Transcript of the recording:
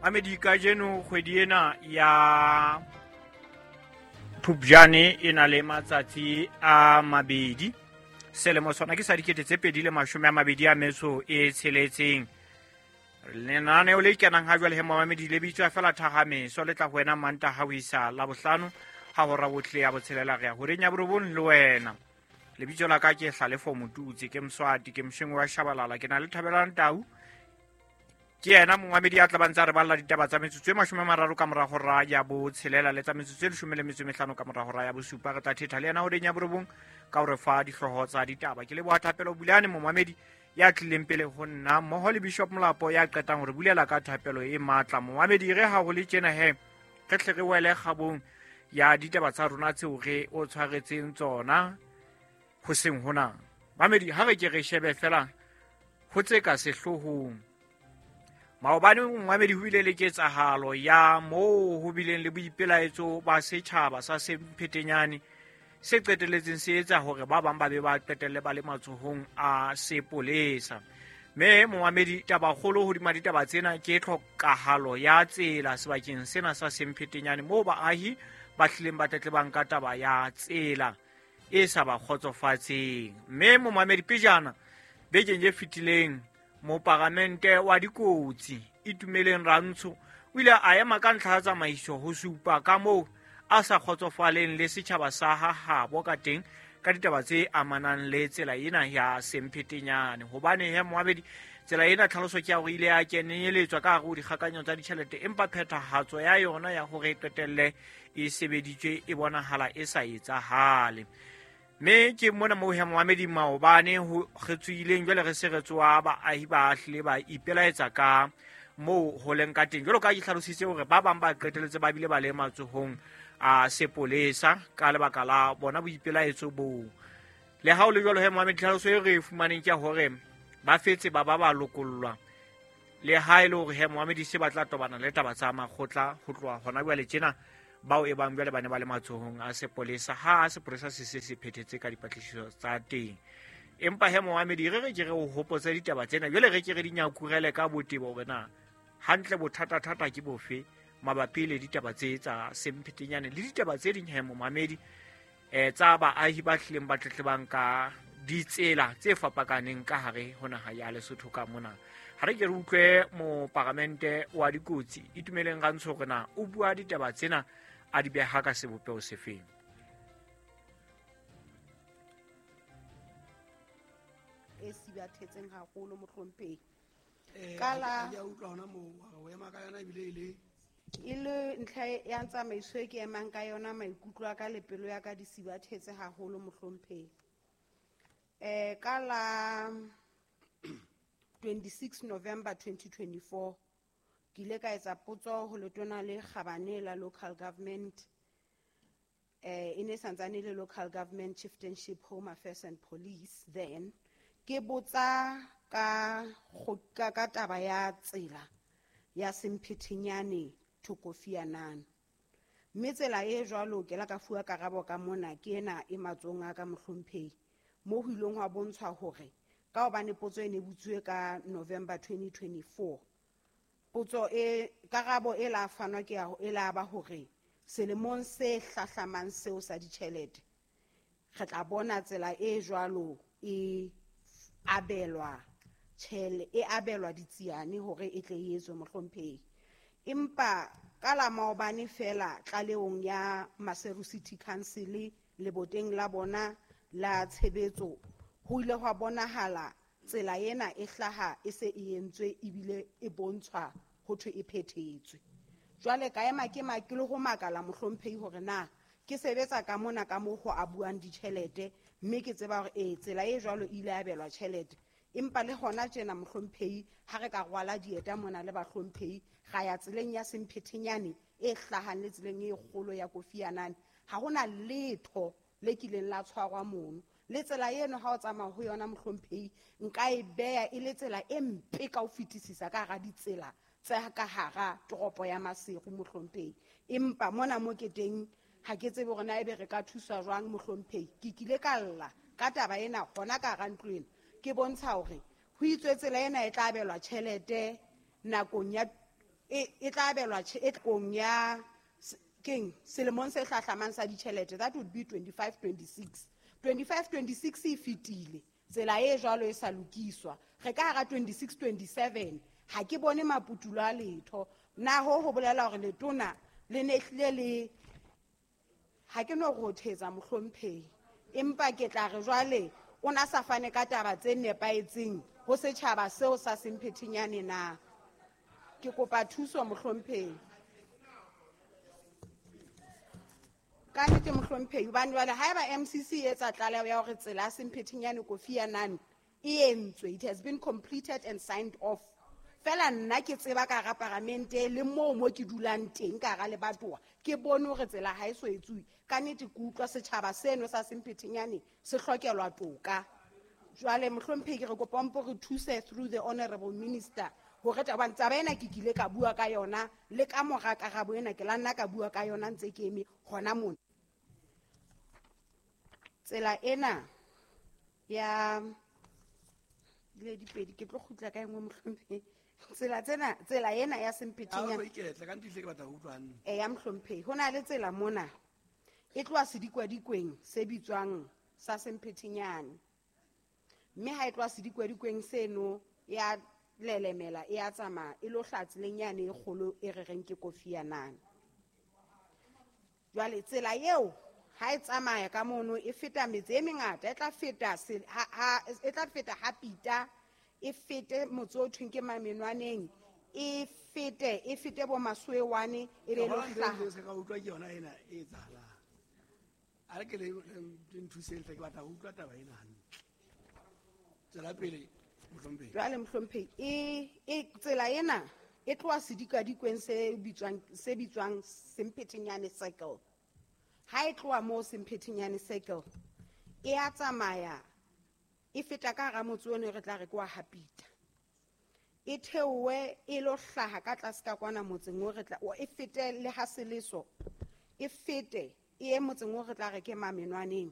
Mamedi, kajeno kgwedi ena ya Phupjane e na le matsatsi a 2. Selemo sona ke sa 2026. Lenaneo le kenang ha jwale he momamedi le bitswa fela Thagameso, le tla ho wena Mantaha ho isa Labohlano ha hora bohle ya 6 re ya horeng ya 9 le wena. Lebitso la ka ke Hlalefo Motutsi, ke Mswati, ke Mshengwe wa Shabalala, ke na le Thabelang Tau. Ke yena momamedi ya tla ba ntse a re balla ditaba tsa metsotso e 30 ka mora hora ya 6 le tsa metsotso e 15 ka mora hora ya 7. Re tla thetha le yena horeng ya 9 ka hore fa dihlooho tsa ditaba. Ke leboha Thapelo Bulane momamedi ya tlileng pele ho nna mmoho le Bishop Molapo ya qetang hore bulela ka thapelo e matla. Momamedi, re ha ho le tjena he re tle re wele kgabong ya ditaba tsa rona tseo re o tshwaretseng tsona hoseng hona. Mamedi, ha re ke re shebe fela ho tse ka sehloohong. Maobane momamedi ho bile le ketsahalo ya moo ho bileng le boipelaetso ba setjhaba sa Semphetenyane se qetelletseng se etsa hore ba bang ba be ba qetelle ba le matsohong a sepolesa. Mme momamedi, tabakgolo hodima ditaba tsena ke tlhokahalo ya tsela sebakeng sena sa Semphetenyane moo baahi ba hlileng ba tletlebang ka taba ya tsela e sa ba kgotsofatseng. Mme momamedi, pejana bekeng e fetileng moparamente wa dikotsi Itumeleng Rantsho o ile a ema ka ntlha ya tsamaiso ho supa ka moo a sa kgotsofaleng le setjhaba sa ha habo ka teng ka ditaba tse amanang le tsela ena ya Semphetenyane. Hobane he momamedi, tsela ena tlhaloso ke ya hore ile ya kenyeletswa ka hare ho dikgakanyo tsa ditjhelete, empa phethahatso ya yona ya hore e qetelle e sebeditswe e bonahala e sa etsahale. Mme ke mona moo he momamedi maobane ho re tswileng jwale re se re tsoa baahi ba hlile ba ipelaetsa ka moo ho leng ka teng. Jwalo ka ke hlalositse hore ba bang ba qetelletse ba bile ba le matsohong a sepolesa ka lebaka la bona boipelaetso boo. Le ha ho le jwalo he momamedi, tlhaloso e re e fumaneng ke ya hore ba fetse ba ba ba lokollwa, le ha e le hore he momamedi se ba tla tobana le taba tsa makgotla ho tloha hona jwale tjena, bao e bang jwale ba ne ba le matsohong a sepolesa ha sepolesa se se se phethetse ka dipatlisiso tsa teng. Empa he momamedi, re re ke re o hopotse ditaba tsena jwale, re ke re di nyakurele ka botebo hore na hantle bothata-thata ke bofe mabapi le ditaba tse tsa Semphetenyane le ditaba tse ding he momamedi tsa baahi ba hlileng ba tletlebang ka ditsela tse fapakaneng ka hare ho naha ya Lesotho ka mona. Ha re ke re utlwe moparamente wa dikotsi Itumeleng Rantsho hore na o bua ditaba tsena a di beha ka sebopeho sefeng. E sibathetseng haholo mohlomphehi. Ka la ke a utlwa hona moo, o ema ka yona ebile e le e le ntlha ya tsamaiso e ke emang ka yona, maikutlo a ka le pelo ya ka di sibathetse haholo mohlomphehi. Ka la 26 November 2024 ke ile ka etsa potso ho letona le kgabane la local government, e ne santsane le local government chieftainship, home affairs and police then, ke botsa ka ka taba ya tsela ya Semphetenyane to Kofi Annan. Mme tsela e jwalo ke la ka fuwa karabo ka mona ke ena e matsohong a ka mohlomphehi, moo ho ileng hwa bontshwa hore ka hobane potso e ne butsuwe ka November 2024, potso e karabo e la fanwa ke ya e la ba hore selemong se hlahlamang seo sa ditjhelete re tla bona tsela e jwalo e abelwa tjhele e abelwa ditsiane hore e tle e etswe mohlomphehi. Empa ka la maobane fela tlalehong ya Maseru City Council leboteng la bona la tshebetso ho ile hwa bonahala tsela ena e hlaha e se e entswe ebile e bontshwa ho thwe e phethetswe. Jwale ka ema ke ke le ho makala mohlomphehi hore na ke sebetsa ka mona ka moo ho abuwang ditjhelete, mme ke tseba hore tsela e jwalo e ile abelwa tjhelete. Empa le hona tjena mohlomphehi ha re ka rwala dieta mona le bahlomphehi ra ya tseleng ya Semphetenyane e hlahang le tseleng e kgolo ya Kofi Annan, ha hona letho le kileng la tshwarwa mono. Le tsela eno ha o tsamaya ho yona mohlomphehi nka e beha e le tsela e mpe ka ho fetisisa ka hara ditsela tse ka hara toropo ya Maseru mohlomphehi. Empa mona mo ke teng ha ke tsebe hore na ebe re ka thuswa jwang mohlomphehi. Ke kile ka lla ka taba ena hona ka hara ntlo ena, ke bontsha hore ho itswe tsela ena e tla abelwa tjhelete nakong ya e tla abelwa e kong ya keng selemong se hlahlamang sa ditjhelete, that would be 25-26. 25-26 e fetile, tsela e jwalo e sa lokiswa. Re ka hara 26-27, ha ke bone maputulo a letho. Na ho bolela hore letona le ne hlile le, ha ke no rothetsa mohlomphehi, empa ke tla re jwale o na sa fane ka taba tse nepahetseng ho setjhaba seo sa Semphetenyane na. Ke kopa thuso mohlomphehi. Ka nnete mohlomphehi, hobane jwale haeba MCC e etsa tlaleho ya hore tsela ya Semphetenyane Kofi Annan e entswe, it has been completed and signed off. Fela nna ke tseba ka hara paramente le moo mo ke dulang teng ka hara lebatowa, ke bone hore tsela ha e so etsuwe. Ka nnete ke utlwa setjhaba seno sa Semphetenyane se hlokelwa toka. Jwale mohlomphehi, ke re kopa o mpo re thuse through the honorable minister hore hobane taba ena ke kile ka bua ka yona le ka mora karabo ena ke la nna ka bua ka yona ntse ke eme hona mona. Tsela ena ya le dipedi ke tlo kgutla ka engwe mohlomphehi. Tsela tsena, tsela ena ya Semphetenyane. Ha o iketle, ka nnete ke batla ho utlwa hantle. Eya mohlomphehi, ho na le tsela mona e tloha sedikwadikweni se bitswang sa Semphetenyane. Mme ha e tloha sedikwadikweni seno ya lelemela e a tsamaya e lo hlaha tseleng yane e kgolo e re reng ke Kofi Annan. Jwale tsela eo ha e tsamaya ka mono e feta metse e mengata, e tla feta se, ha, ha, e tla feta ha Pita, e fete motse o thweng ke Mamenwaneng, e fete bo Masuewane, e be lo Ke hlaha. bona ntho e ka utlwa ke yona ena e etsahalang. A re ke le nthuseng hle, ke batla ho utlwa taba ena hantle. Tswela pele, mohlomphehi. Jwale mohlomphehi, tsela ena e tloha sedikadikweng se bitswang Semphetenyane Circle. Ha e tloha moo Semphetenyane Circle, e a tsamaya e feta ka hara motse ono re tla re ke wa Hapita. E theohe e lo hlaha ka tlase ka kwana motseng o re tla, o, e fete le ha Seleso, e fete e ye motseng o re tla re ke Mamenwaneng.